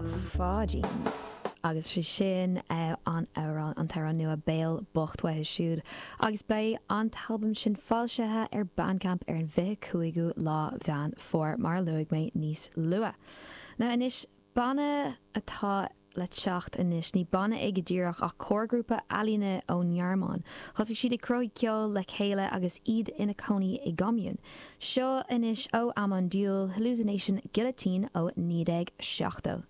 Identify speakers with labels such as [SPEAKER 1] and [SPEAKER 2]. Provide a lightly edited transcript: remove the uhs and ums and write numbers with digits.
[SPEAKER 1] Lá Pháidín. Agus sé sin an amhrán, an t-amhrán nua Béal Bocht uathu siúd. Agus beidh an t-albam sin foilsithe ar Bandcamp ar an 25ú lá Mheán Fómhair, mar a luaigh mé níos luaithe. Now anois, banna atá le teacht anois, ní banna é go díreach ach comharghrúpa ealaíne ón nGearmáin. Thosaigh siad ag cruthú ceoil le chéile agus iad ina cónaí i gcommune. Seo anois ó Amon Düül, Hallucination Guillotine ó 1970.